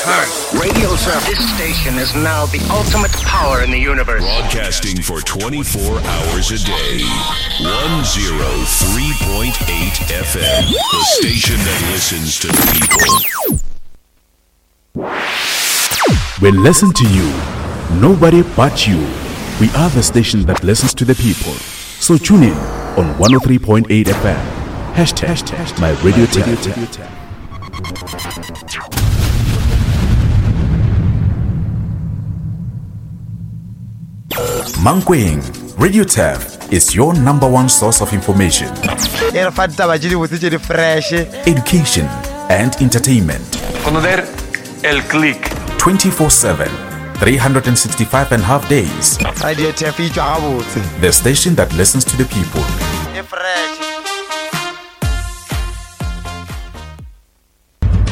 time. Radio Turf. This station is now the ultimate power in the universe. Broadcasting for 24 hours a day. 103.8 FM. The station that listens to people. We listen to you. Nobody but you. We are the station that listens to the people. So tune in on 103.8 FM. Hashtag my radio tap. Mankweng, Radio Turf is your number one source of information, e re fa ditaba tše dibotse tše di fresh education, and entertainment. Conocer el click. 24 7, 365 and a half days. Radio Turf e tšwa gabotse The station that listens to the people. e fresh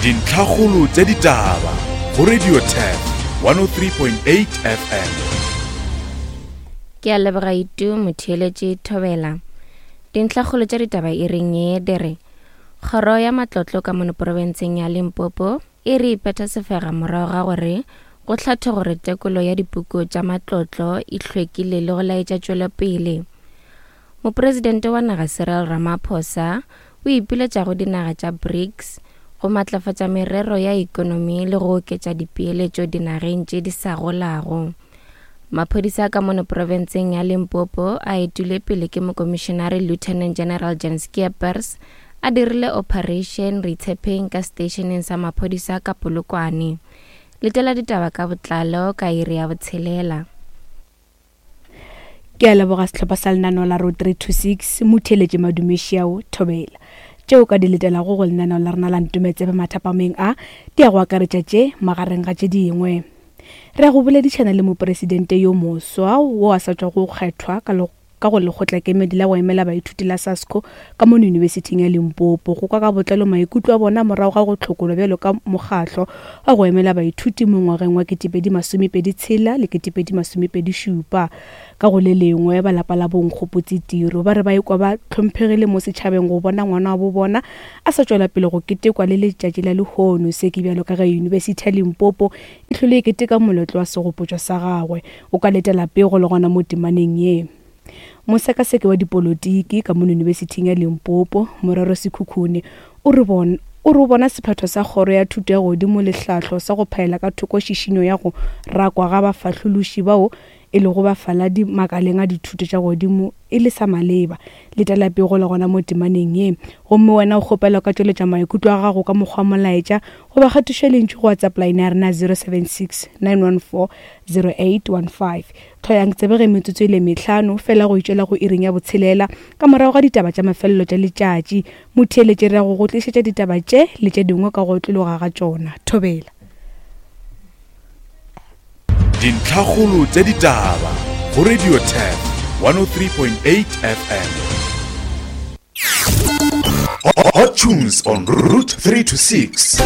Dintlhakgolo tša ditaba go Radio Turf 103.8 FM. Ke a leboga Itu motheeletši Thobela. Dintlhakgolo tša ditaba e reng ye di re Kgoro ya matlotlo ka mono porofenseng ya Limpopo e re ipetha sefega morago ga gore go hlathe gore tekolo ya dipuku tša matlotlo e hlwekile le go laetša tšwelopele. Mopresidente wa naga Cyril Ramaphosa o ipiletša go dinaga tša BRICS go matlafatša merero ya ekonomi le go oketša dipeeletšo dinageng tše di sa golago. Maphodisa ka mono profenseng ya Limpopo a etile pele ke mokomišenare Lieutenant General Jan Skeepers a dirile Operation Retshepeng ka seteišeneng sa maphodisa ka Polokwane. Letela ditaba ka botlalo ka iri ya botshelela. Ke a leboga sehlopha sa lenaneo la Road 326 Motheeletše Madumešiao Thobela. Tšeo ka di letelago go lenaneo la rena la Ntometsebe mathapameng a di ya go akaretša tše magareng ga tše dingwe. Re ya go boledišana le mopresidente yo moswa wo a sa tšwago go kgethwa ka ka go lekgotlakemedi la go emela baithuti la SASCO ka mono Yunibesithing ya Limpopo go kwa ka botlalo maikutlo a bona morago ga go hlokolwa bjalo ka mokgatlo wa go emela baithuti mo ngwageng wa 2026 le 2027. Ka go le lengwe, ba lapa la boNkgopotse Tiro ba re ba ikwa ba hlomphegile mo setšhabeng go bona ngwana wa bo bona a sa tšwela pele go ketekwa le letšatši la lehono. Se ke bjalo ka ge Yunibesithi ya Limpopo e hlole e keteka moletlo wa segopotšo sa gagwe. O ka letela pego le gona mo temaneng ye. Mosekaseki wa dipolotiki ka mono Yunibesithing ya Limpopo, Morero Sekhukhune, o re bona o re o bona sephetho sa Kgoro ya Thuto ya Godimo le Hlahlo sa go phaela ka thoko šišinyo ya go rakwa ga bafahlološi bao e lego bafaladi makaleng a dithuto tša godimo e le sa maleba. Letela pego le gona mo temaneng ye. Gomme wena o kgopelwa ka tšweletša maikutlo a gago ka mokgwa wa molaetša goba kgatišo ya lentšu go WhatsApp line ya rena 076 914 0815. Tlhoyang tsebe ge metsotso e le mehlano fela go itšwela go iring ya botshelela ka morago ga ditaba tša mafelelo tša letšatši. Motheeletši re ya go go tlišetša ditaba tše le tše dingwe ka go otlologa ga tšona. Thobela. Dintlhakgolo tša ditaba go Radio Turf 103.8 FM. Hot tunes on Route 3 to 6.